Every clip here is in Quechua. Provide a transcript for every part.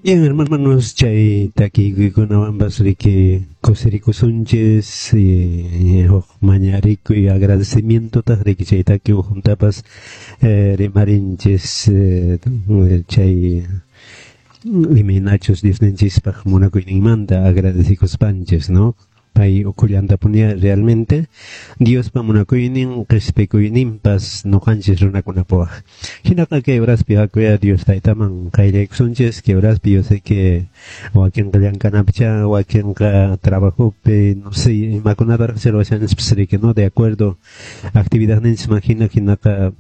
Bien, hermanos, chay takikuykunawanpas riki kusirikusunchis huk mañarikuy agradecimientotaq riki chay taki ukhuntapas rimarinchis chay imaynachus Diosninchispaq munakuyninmanta agradecikuspanchis, ¿no? Pay ukhullantapuni realmente Diospa munakuynin qhispikuyninpas ñuqanchis runakunapaq. Hinaqa kay horaspi hakuya Dios taytaman qayllaykusunchis, kay horaspi yo sé que wakinqa llank'anapicha, wakinqa trabajopi, no sé, imakunataraq ruwashanchis riki, ¿no? De acuerdo actividadninchisman hina hinaqa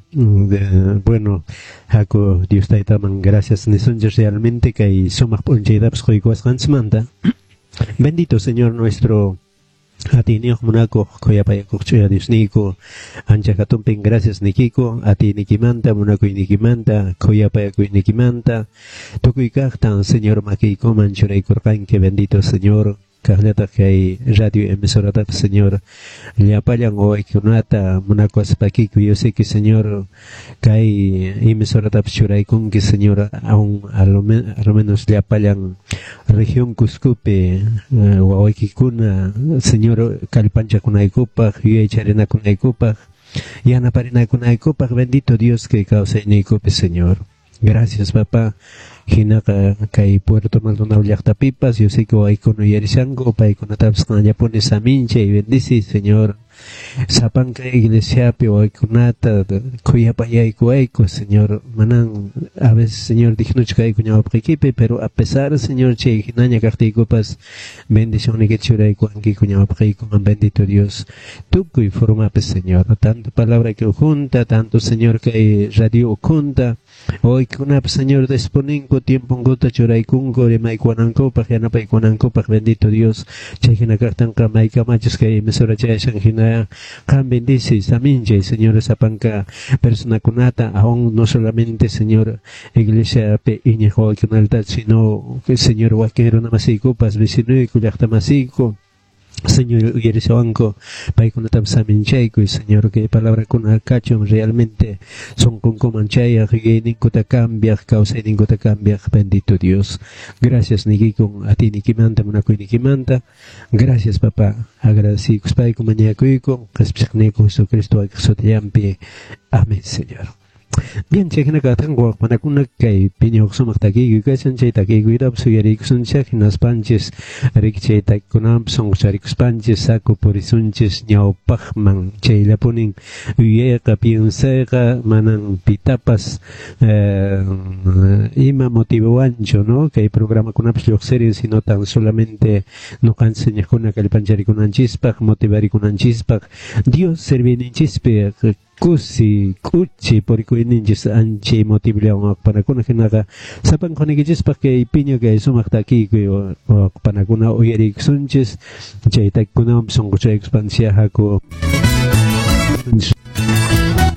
bueno, haku Dios taytaman gracias nisunchis realmente kay sumaq p'unchaytapas quykuwasqanchismanta. Bendito Señor nuestro atiyniyuq munakuq khuyapayakuq ch'uya Diosniyku, ancha hatunpin gracias nikiku atiynikimanta, munakuynikimanta, khuyapayakuynikimanta, tukuy kaqtan Señor makiykuman churaykurqanki, bendito Señor. Kaqllataq kay radio emisoratapas Señor llapallan wawaykikunata munakuwaspakiku, yo sé que Señor kay emisoratapas churaykunki Señor aún a lo menos llapallan región Cuscopi wawaykikuna Señor kallpanchakunaykupaq, yuyaycharinakunaykupaq, yanaparinakunaykupaq, bendito Dios kay kawsayniykupi Señor. Gracias, papá. Hinaqa kay Puerto Maldonado llaqtapipas, yo sé que wawaykuna uyarishanku, paykunatapas qanllapuni saminchay, bendici, Señor. Sapanka iglesiapi wawaykunata khuyapayaykuwayku, Señor. Manan a veces, Señor, dignochu kayku ñawpaqiykipi, pero a pesar, Señor, chay hinaña kaqtiykupas bendicionniyki churaykuwankiku ñawpaqiykuman, bendito Dios. Tukuy formapi, Señor, tanto palabra que junta, tanto, Señor, kay radio ukhunta, wawaykunapas, Señor, disponinku tiemponkuta churaykunku rimaykuwanankupaq, yanapaykuwanankupaq, bendito Dios. Chay hina kaqtinqa maykamachus kay emisora chayashan hina qan bendice, saminchay, Señor, sapanka personakunata, aún no solamente, Señor, iglesiapi iñiq wawaykunata, sino, Señor, wakin runa masiykupas, vecinuyku, llaqta masiyku, Señor, uyarishawanku, paykunatapas saminchaykuy, Señor, kay palabrakuna kachun realmente sunqunkuman chayaq, yuyayninkuta cambiaq, kawsayninkuta cambiaq, bendito Dios. Gracias niykikun atiynikimanta, munakuynikimanta. Gracias, papá. Agradecikuspayku mañakuyku, qhispichiqniyku Jesucristo wakiq sutillanpi. Amén, Señor. Bien, chay hina kaqtin waqpanakuna kay piñuq sumaq takiykuy kashan, chay takiykuytapas uyariykusunchik, hinaspanchis riki chay takikunawanpas sunqucharikuspanchis saku purisunchis ñawpaqman, chayllapunin yuyayqa piensayqa manan pitapas ima motivowanchu, ¿no? Kay programakunapas lluqsirin, sino tan solamente ñuqanchis iñiqkuna kallpancharikunanchispaq, motivarikunanchispaq, Dios serviyninchispi kusi k'uchi purikuyninchis anchay motivllawan waqpanakuna hinaqa sapanqunaykichispaq kay piña kay sumaq takiykuy waqpanakuna uyariykusunchis, chay takikunawan sunquchaykuspanchis haku